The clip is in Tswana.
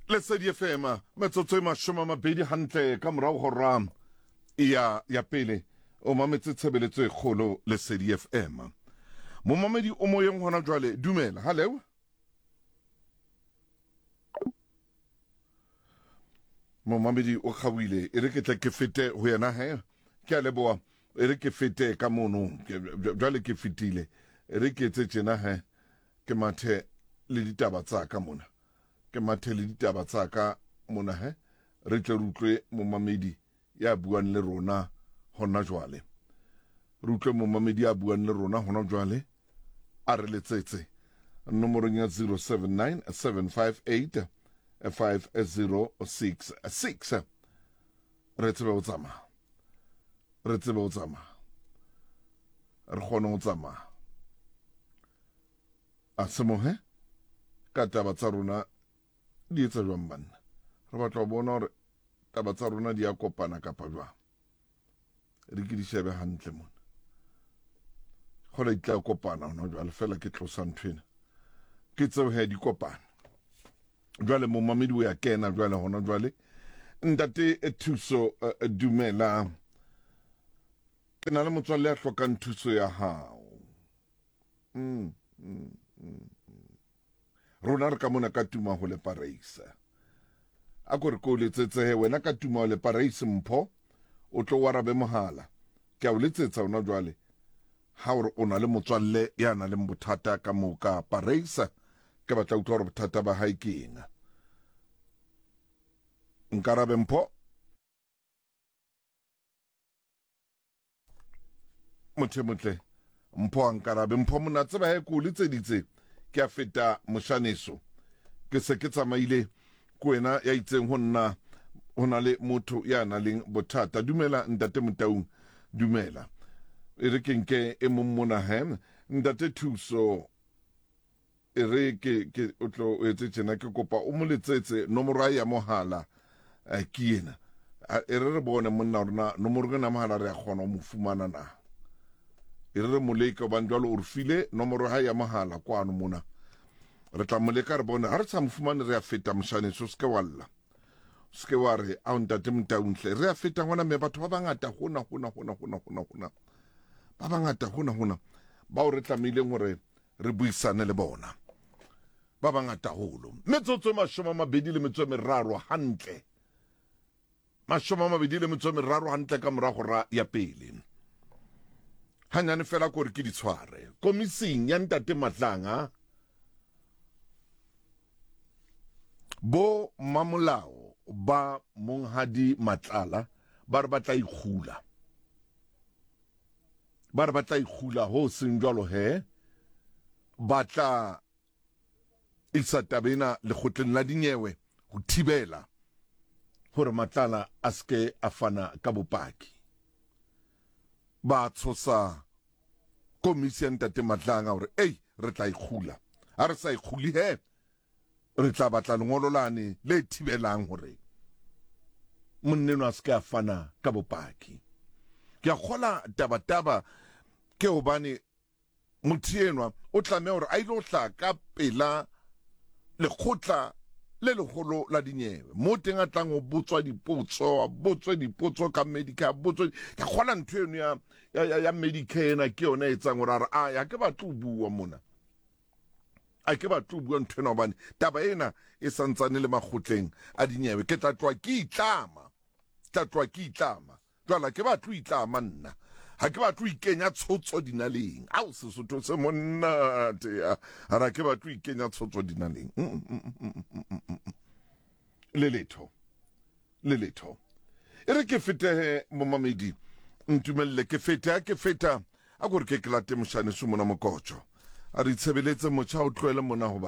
Lesedi FM, metsotso e 20 hantle ka morago hora ya ya pele. O mametse tshebeletso e kgolo Lesedi FM. Momamedi o moyeng hona jwale, dumela. Hallo. Momamedi o kgaoile, e re ke tle ke fete ho yena he. Ke a leboha, e re ke fete ka mono. Jwale ke fetile. E re ke etse tjena he, ke mathe le ditaba tsa ka mona. Ke mathe le ditaba tsa ka mona he, re tle re utlwe momamedi ya buang le rona hona jwale. Re utlwe momamedi ya buang le rona hona jwale, a re letsetse nomorong ya 079 758 5066. Re tsebe ho tsamaya, re tsebe ho tsamaya, re kgone ho tsamaya. A semohe ka taba tsa rona di etsa jwang banna? Re batla ho bona hore taba tsa rona di a kopana kapa jwang. Re ke di shebe hantle mona. Kgola di tla kopana hona jwale, fela ke tlosa ntho ena. Ke tseo he di kopana. Jwale momamedi o ya kena jwale hona jwale. Ntate Thuso, dumela. Ke na le motswalle ya hlokang thuso ya hao. Rona re ka mona ka tuma ho le Pareisa. A ko re ko letsetsehe wena ka tuma ho le Pareisa mpho, o tlo o arabe mohala. Ke a o letsetsa hona jwale. Ha o re o na le motswalle ya nang le bothata ka moo ka Pareisa, ke batla utlwa hore bothata ba hae ke eng. Nkarabe mpho. Motho e motle mpho a nkarabe mpho mona tseba he ko letseditse ke a feta moshaneso ke se ke tsamaile ko wena ya itseng ho nna ho na le motho ya nang le bothata. Dumela ntate Motaung, dumela. E re ke nke e mong mona he ntate Thuso, E re ke ke o tlo o etse tjena, ke kopa o mo letsetse nomoro ya mohala ke ena. E re re bone monna rona nomoro ena mohala re a kgona ho mo fumana na. E re re mo leke hobane jwale o re file nomoro ha ya mohala kwano mona. Re tla mo leka re bone ha re sa mo fumane re a feta moshaneso, se ke wa lla. Se ke wa re a ntate Motaung hle re a feta ngwana mme batho ba bangata hona hona hona hona hona hona. Ba bangata hona hona bao re tlamehileng hore re buisane le bona ba bangata holo. Metsotso e 23 hantle, 23 hantle ka morago ra ya pele. Hanyane fela kore ke di tshware komising ya ntate Matlanga, bo mamolao ba monghadi Matlala ba re ba tla ikgula, ba re ba tla ikgula ho seng jwalo he ba tla isa taba ena lekgotleng la dinyewe ho thibela hore Matlala a seke a fana ka bopaki. Ba tshosa komisi ya ntate Matlanga hore ei re tla ikgula, ha re sa ikguli he re tla batla lengolo lane le thibelang hore monneno a se ke a fana ka bopaki. Ke a kgola tabataba ke hobane motho enwa o tlameha hore a ile ho hlaha ka pela lekgotla le leholo la dinyewe mo teng a tlang ho botswa dipotso, a botswe dipotso ka Medicare, a botswe. Ke kgola ntho eno ya, ya, ya, ya Medicare ena ke yona e etsang hore a re a ya ke batle ho bua mona, a ke batle ho bua ntho ena hobane taba ena e santsane le makgotleng a dinyewe. Ke tla tloha ke itlama, tla tloha ke itlama. Jwale ke batle ho itlama nna, ha ke batle ho ikenya tshotso dinaleng. Ao Sesotho se monate ya ara, ke batle ho ikenya tshotso dinaleng. Le letho, le letho. E re ke fetehe momamedi, ntumelle ke fete. Ha ke feta a kore ke ke late moshane su mona mokotjo a re itshebeletse motjha o tlohele mona hoba.